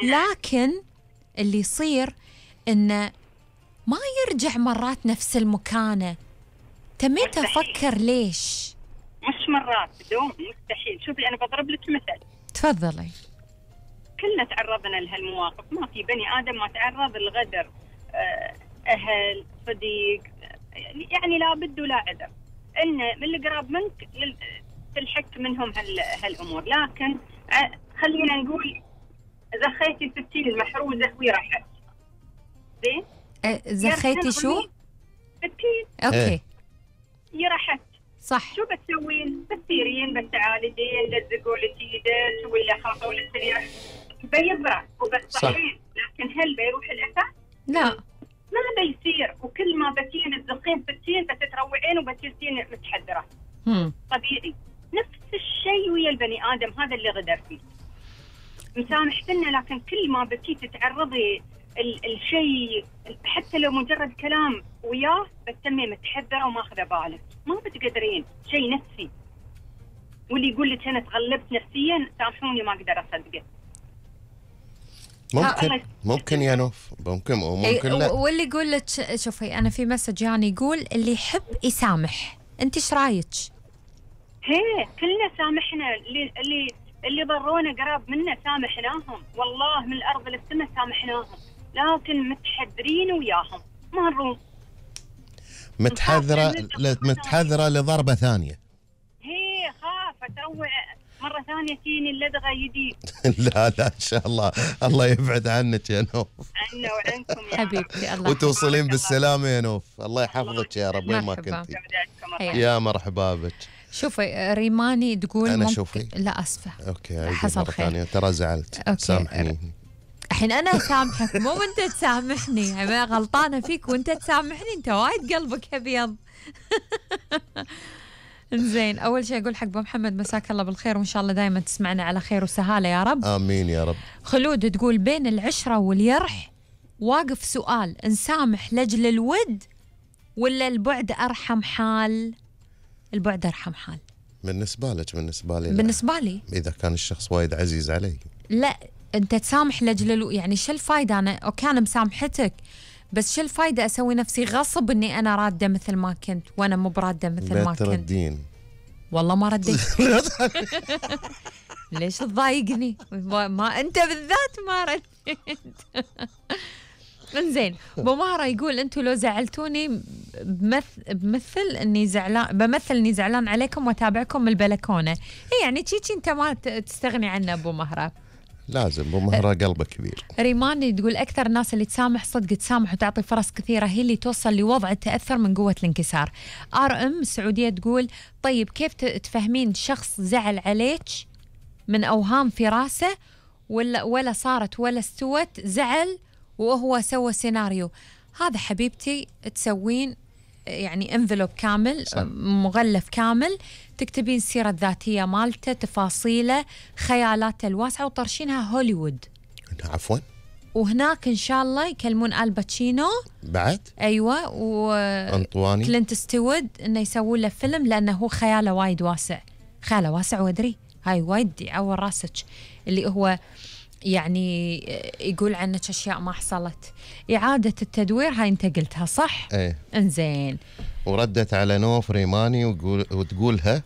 لكن اللي يصير إنه ما يرجع مرات نفس المكانة. تميت أفكر ليش؟ مش مرات، بدون مستحيل. شوفي أنا بضرب لك مثل. تفضلي. كلنا تعرضنا لهالمواقف، ما في بني آدم ما تعرض للغدر، أهل، صديق، يعني لا بد ولا عذر إن من اللي قراب منك تلحق منهم هالأمور. لكن خلينا نقول زخيتي ستين المحروزة وراحت. زين؟ زخيتي شو؟ ستين. أوكي. راحت. صح. شو بتسوين؟ بتسيرين، بتعالجين، بتزقولتي ولا خاطوا للسرير بيبرع وبتصحين. لكن هل بيروح الأثر؟ لا. ما بيصير. وكل ما بتين تزقين ستين بتتروعين وبتصيرين متحذرة. طبيعي. نفس الشيء ويا البني آدم هذا اللي غدر فيه. مسامحتنا، لكن كل ما بتي تتعرضي الشيء حتى لو مجرد كلام وياه بتسمي متحذرة وماخذة بالك، ما بتقدرين. شيء نفسي. واللي يقول لك أنا تغلبت نفسيا سامحوني ما أقدر أصدقه. ممكن يا نوف، ممكن وممكن لا. واللي يقول لك شوفي أنا في مسج يعني يقول اللي يحب يسامح. أنت إيش رايك؟ كلنا سامحنا. اللي ضرونا قراب منا سامحناهم، والله من الأرض للسماء سامحناهم، لكن متحذرين وياهم ما نروم. متحذرة لضربة ثانية. خاف تروع مرة ثانية تيني اللدغة يدي. لا إن شاء الله، الله يبعد عنك يا نوف. عنا وعنكم يا حبيبتي. الله وتوصلين بالسلامة يا نوف. الله يحفظك يا رب وين ما كنتي. يا مرحبا بك. شوفي ريماني تقول أنا شوفي. لا أسفة. أوكي حصل خير. ثانية ترى زعلت. سامحني. الحين أنا أسامحك مو أنت تسامحني. أنا غلطانة فيك وأنت تسامحني. أنت وايد قلبك أبيض. إنزين، أول شيء أقول حق أبو محمد مساك الله بالخير، وإن شاء الله دائما تسمعنا على خير وسهالة يا رب. آمين يا رب. خلود تقول بين العشرة واليرح واقف سؤال، نسامح لأجل الود ولا البعد أرحم حال؟ البعد أرحم حال. بالنسبة لك. بالنسبة لي لا. بالنسبة لي إذا كان الشخص وايد عزيز علي لا. أنت تسامح لأجل يعني شو الفايدة؟ أنا أوكي أنا مسامحتك، بس شو الفايدة أسوي نفسي غصب إني أنا رادة مثل ما كنت وأنا مو برادة مثل ما كنت؟ بتردين. والله ما رديت. ليش تضايقني؟ ما أنت بالذات ما رديت. إنزين، أبو مهرة يقول أنتوا لو زعلتوني بمثل إني زعلان عليكم وأتابعكم من البلكونة. يعني تشيكي أنت ما تستغني عنه أبو مهرة. لازم أبو مهرة قلبه كبير. ريمان تقول أكثر الناس اللي تسامح صدق تسامح وتعطي فرص كثيرة هي اللي توصل لوضع التأثر من قوة الانكسار. RM السعودية تقول طيب كيف تفهمين شخص زعل عليك من أوهام في راسه ولا صارت ولا استوت، زعل وهو سوى سيناريو؟ هذا حبيبتي تسوين يعني انفلوب كامل، صح. مغلف كامل، تكتبين السيرة الذاتية مالته، تفاصيله، خيالاته الواسعة، وطرشينها هوليوود. عفوا. وهناك إن شاء الله يكلمون الباتشينو بعد. أيوة، وأنطواني كلينت ستيوارد إنه يسوون له فيلم، لأنه هو خياله وايد واسع. خياله واسع وأدري هاي وايد يعور راسك، اللي هو يعني يقول عنك أشياء ما حصلت. إعادة التدوير هاي أنت قلتها صح؟ ايه. انزين. وردت على نوف ريماني وتقولها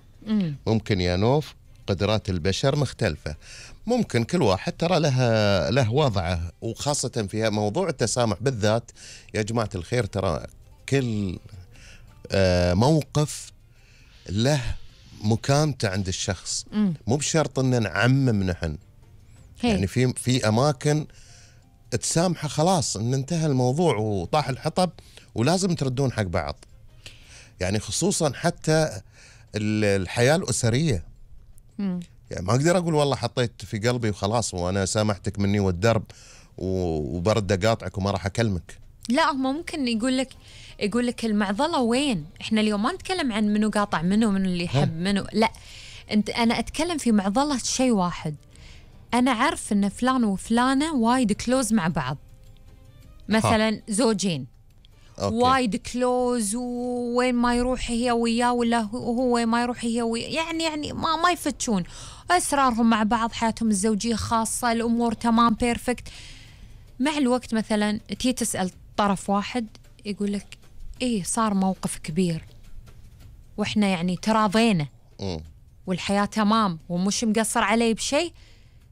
ممكن يا نوف قدرات البشر مختلفة، ممكن كل واحد ترى له وضعه، وخاصة في موضوع التسامح بالذات يا جماعة الخير. ترى كل موقف له مكانته عند الشخص، مو بشرط ان نعمم نحن. يعني في اماكن تسامحه خلاص ان انتهى الموضوع وطاح الحطب ولازم تردون حق بعض. يعني خصوصا حتى الحياة الأسرية. يعني ما أقدر أقول والله حطيت في قلبي وخلاص وأنا سامحتك مني والدرب وبرد أقاطعك وما راح أكلمك. لا، هم ممكن يقول لك المعضلة وين؟ إحنا اليوم ما نتكلم عن منو قاطع منو اللي يحب منو، لا، أنا أتكلم في معضلة شيء واحد. أنا عارف إن فلان وفلانة وايد كلوز مع بعض، مثلا زوجين وايد كلوز، وين ما يروح هي وياه ولا هو وين ما يروح هي وياه، يعني ما يفتشون. أسرارهم مع بعض، حياتهم الزوجية خاصة، الأمور تمام بيرفكت. مع الوقت مثلا تيجي تسأل طرف واحد يقول لك إيه صار موقف كبير وإحنا يعني تراضينا والحياة تمام ومش مقصر علي بشيء،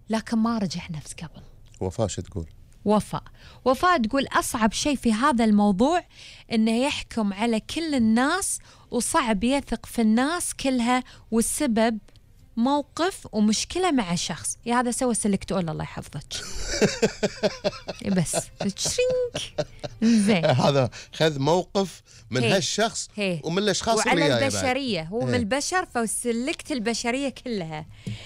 لكن ما رجع نفس قبل. وفاء شو تقول؟ وفاء تقول أصعب شيء في هذا الموضوع إنه يحكم على كل الناس وصعب يثق في الناس كلها، والسبب موقف ومشكلة مع شخص. يا هذا سوى سلكت أول الله يحفظك. بس تشرينك زين. هذا خذ موقف من هالشخص ومن الأشخاص اللي وعلى البشرية هو من البشر، فسلكت البشرية كلها.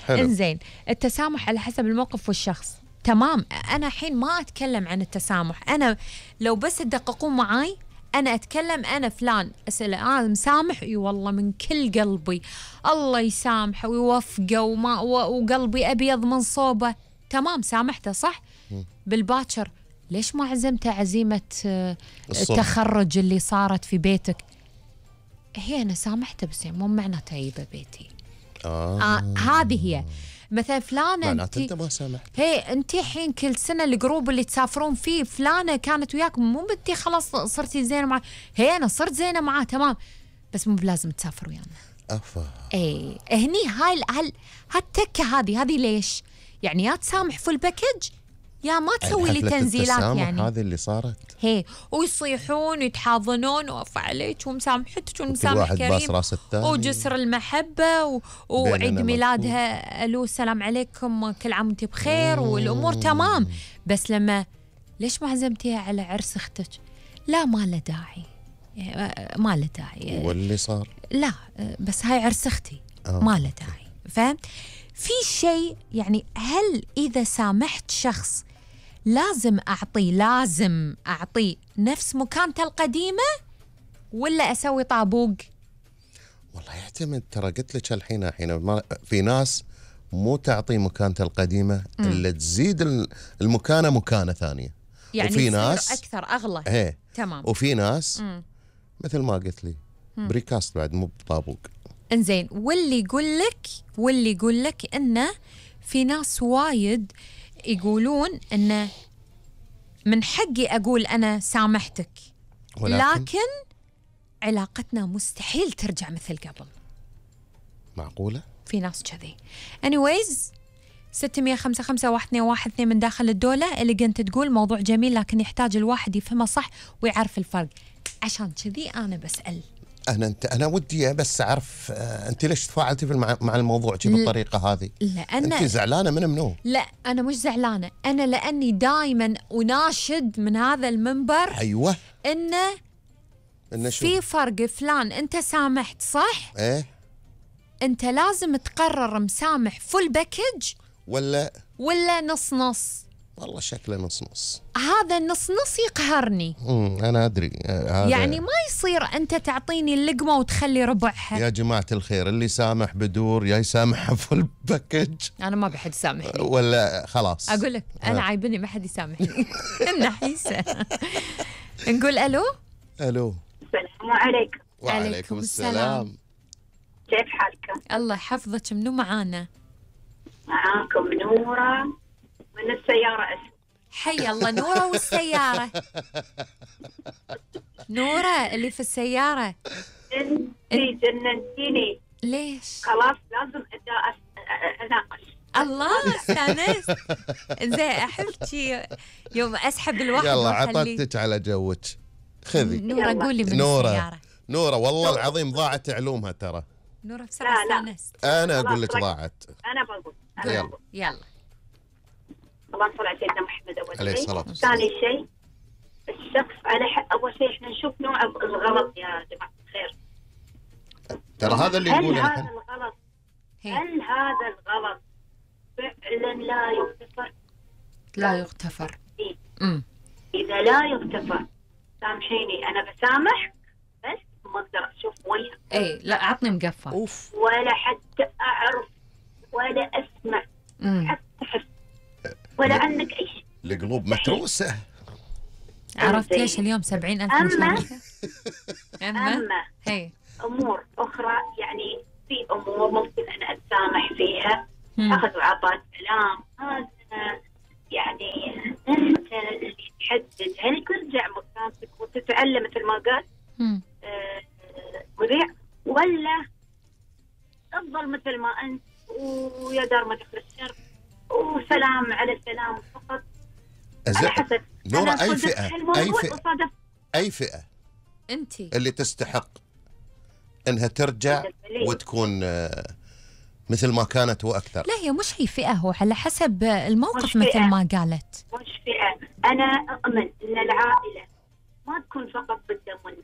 إنزين التسامح على حسب الموقف والشخص تمام. أنا حين ما أتكلم عن التسامح، أنا لو بس تدققون معاي أنا أتكلم أنا فلان أسأله مسامح، إي والله من كل قلبي الله يسامحه ويوفقه وقلبي أبيض من صوبه، تمام سامحته صح. بالباكر ليش ما عزمته عزيمة التخرج اللي صارت في بيتك؟ هي أنا سامحته بس مو معناته يبى بيتي. هذه هي. مثلا فلانة انت ما سامحت، هي انت حين كل سنة الجروب اللي تسافرون فيه فلانة كانت وياكم، مو بدي خلاص صرتي زينة معاه، هي انا صرت زينة معاه تمام بس مو بلازم تسافر ويانا. اي هني هاي هالتكة هذه ليش؟ يعني يا تسامح فول باكج يا ما تسوي لي تنزيلات. يعني هذه اللي صارت هي ويصيحون ويتحاضنون ووفى عليك ومسامحتك ومسامح كريم وجسر المحبة وعيد ميلادها ألو السلام عليكم كل عام وانت بخير والأمور تمام. بس لما ليش ما عزمتيها على عرس اختك؟ لا ما له داعي، ما له داعي. واللي صار لا بس هاي عرس اختي ما له داعي. فاهم؟ في شيء يعني هل إذا سامحت شخص لازم أعطيه نفس مكانته القديمة ولا أسوي طابوق؟ والله يعتمد. ترى قلت لك الحين في ناس مو تعطي مكانته القديمة إلا تزيد المكانة مكانة ثانية، يعني وفي ناس أكثر أغلى. تمام. وفي ناس مثل ما قلت لي بريكاست بعد مو بطابوق. انزين واللي يقول لك إنه في ناس وايد يقولون إنه من حقي أقول أنا سامحتك لكن علاقتنا مستحيل ترجع مثل قبل. معقولة؟ في ناس كذي. anyways 655-1212 من داخل الدولة اللي كنت تقول موضوع جميل لكن يحتاج الواحد يفهمه صح ويعرف الفرق. عشان كذي أنا بسأل. أنا ودي بس أعرف أنت ليش تفاعلتي مع الموضوع بالطريقة هذه؟ لأن أنت زعلانة منه؟ لا أنا مش زعلانة، أنا لأني دائما أناشد من هذا المنبر أيوة إنه في فرق. فلان أنت سامحت صح؟ إيه أنت لازم تقرر مسامح فول باكج ولا نص نص. والله شكله نص نص. هذا النص نص يقهرني. أنا أدري يعني ما يصير أنت تعطيني اللقمة وتخلي ربعها. يا جماعة الخير اللي سامح بدور يا يسامح فول باكج. أنا ما بحد يسامحني ولا خلاص أقول لك أنا عايبني ما حد يسامحني. النحيسة. نقول ألو. السلام عليكم. وعليكم السلام. كيف حالكم؟ الله يحفظك. منو معانا؟ معاكم نورة من السيارة. حي الله نورة والسيارة. نورة اللي في السيارة. انتي جننتيني. ليش؟ خلاص لازم اناقش. الله استانست. زين احبتي يوم اسحب الواحد. يلا عطتك على جوك. خذي نورة قولي من السيارة. نورة والله العظيم ضاعت علومها ترى. نورة بصراحة استانست. أنا أقول لك ضاعت. أنا بقول. يلا. اللهم صل على سيدنا محمد. أول عليه الصلاة والسلام. ثاني شيء الشخص على حق. أول شيء إحنا نشوف نوع الغلط يا جماعة الخير. ترى هذا اللي يقوله هل هذا الغلط فعلا لا يغتفر؟ إذا لا يغتفر سامحيني أنا بسامح بس ما أقدر أشوف وجهك. إيه لا عطني مقفى. ولا حتى أعرف ولا أسمع حتى أحس ولا عنك أي شيء. القلوب متروسة. عرفت ليش اليوم 70,000 مشاركة؟ أما هي أمور أخرى يعني في أمور ممكن أنا أتسامح فيها أخذ وعطاء كلام، هذا يعني أنت اللي تحدد هل ترجع مكانك وتتعلم مثل ما قال مذيع، ولا تفضل مثل ما أنت ويا دار ما دخل الشر وسلام على سلام فقط. على حسب نورة، أي فئة أنت اللي تستحق أنها ترجع وتكون مثل ما كانت وأكثر؟ لا، هي مش هي فئة، هو على حسب الموقف مثل ما قالت. مش فئة، أنا أؤمن أن العائلة ما تكون فقط بالدم والنسب.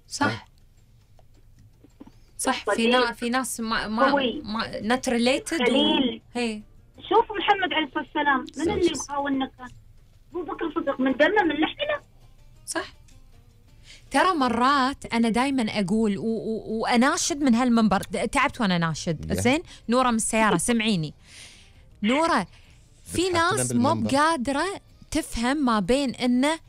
صح. في ناس ما نت ريليتد. هي شوف محمد عليه الصلاة والسلام من اللي مخاوننا كان أبو بكر الصديق من دمه من لحمه. صح. ترى مرات أنا دايما أقول وأناشد من هالمنبر، تعبت وأنا ناشد. زين نورة من السيارة سمعيني. نورة، في ناس مو بقادرة تفهم ما بين إنه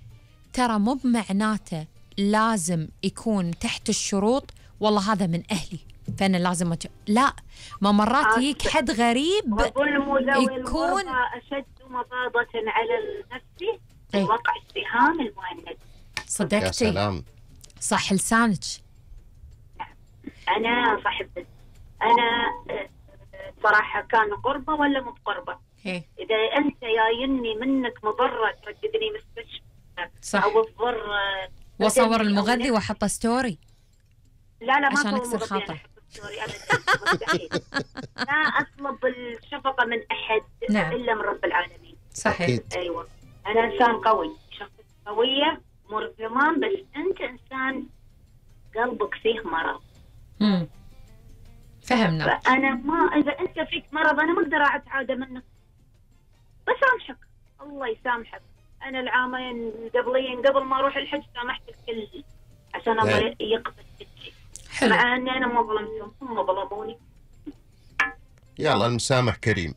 ترى مو بمعناته لازم يكون تحت الشروط والله هذا من أهلي فأنا لازم لا، ما مرات يجيك حد غريب يكون أشد مضاضة على النفس وقع السهام المهند. صدقتي؟ يا سلام. صح لسانك. أنا صاحبت، أنا صراحة كان قربة ولا مو بقربة. إذا أنت جايني منك مضرة ترددني مستشفى أو تضر وصور المغذي وحط ستوري. لا ما عشان أكسر خاطر. مستحيل. لا أطلب الشفقة من أحد إلا من رب العالمين. صحيح. أيوة، أنا إنسان قوي، شخصية قوية مر تمام، بس أنت إنسان قلبك فيه مرض. فهمنا. أنا ما إذا أنت فيك مرض أنا ما أقدر أتعادى منك، بسامحك الله يسامحك. أنا العامين قبلين قبل ما أروح الحج سامحت الكل عشان الله يقبل الشيء، مع أني أنا ما ظلمتهم، هم ظلموني. يلا المسامح كريم.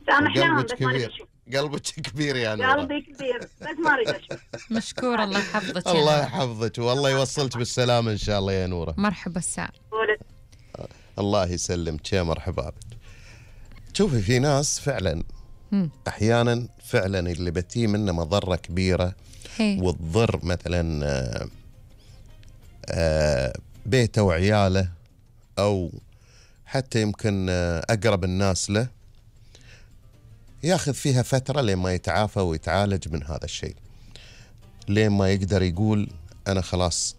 سامحناهم بس ما نشوف. قلبك كبير يا نورة. قلبي كبير بس ما اريد اشوف. مشكور، الله يحفظك. الله يحفظك والله يوصلك بالسلامة ان شاء الله يا نورة. مرحبا الساعة. الله يسلمك يا مرحبا بك. شوفي في ناس فعلا احيانا فعلا اللي بتي منه مضرة كبيرة وتضر مثلا بيته وعياله او حتى يمكن اقرب الناس له، ياخذ فيها فترة لين ما يتعافى ويتعالج من هذا الشيء، لين ما يقدر يقول أنا خلاص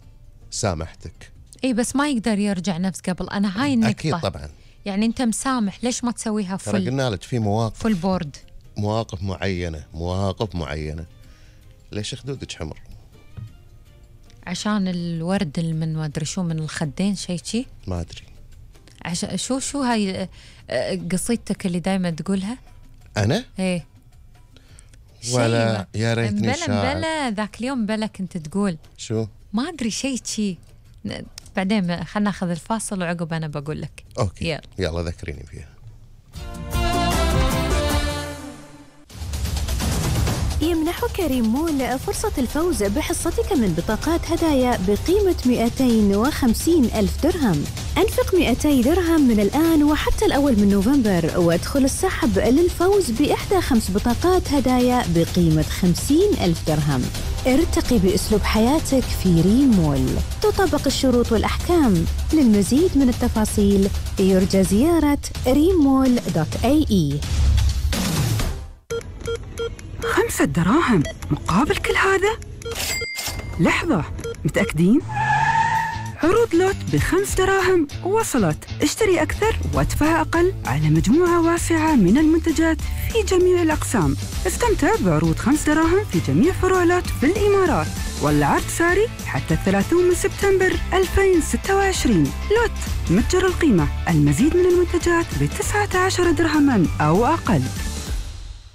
سامحتك. إيه بس ما يقدر يرجع نفس قبل. أنا هاي النقطة. أكيد طبعا. يعني أنت مسامح، ليش ما تسويها ترى قلنا لك في مواقف فل بورد، مواقف معينة. ليش خدودك حمر؟ عشان الورد من ما أدري شو من الخدين شيء ما أدري. عشان شو هاي قصيدتك اللي دايما تقولها؟ أنا؟ إيه. ولا يا ريتني شاعر. بلا ذاك اليوم بلا كنت تقول شو؟ ما أدري شيء بعدين خلنا ناخذ الفاصل وعقب أنا بقول لك. أوكي يلا ذكريني فيها. يمنح كريم مول فرصة الفوز بحصتك من بطاقات هدايا بقيمة 250 ألف درهم. أنفق 200 درهم من الآن وحتى الأول من نوفمبر وادخل السحب للفوز بإحدى 5 بطاقات هدايا بقيمة 50 ألف درهم. ارتقي بأسلوب حياتك في ريم مول، تطبق الشروط والأحكام. للمزيد من التفاصيل يرجى زيارة rimmall.ae. 5 دراهم مقابل كل هذا؟ لحظة، متأكدين؟ عروض لوت ب5 دراهم وصلت. اشتري أكثر وادفع أقل على مجموعة واسعة من المنتجات في جميع الأقسام. استمتع بعروض 5 دراهم في جميع فروع لوت في الإمارات، والعرض ساري حتى 30 من سبتمبر 2026. لوت متجر القيمة، المزيد من المنتجات ب19 درهما أو أقل.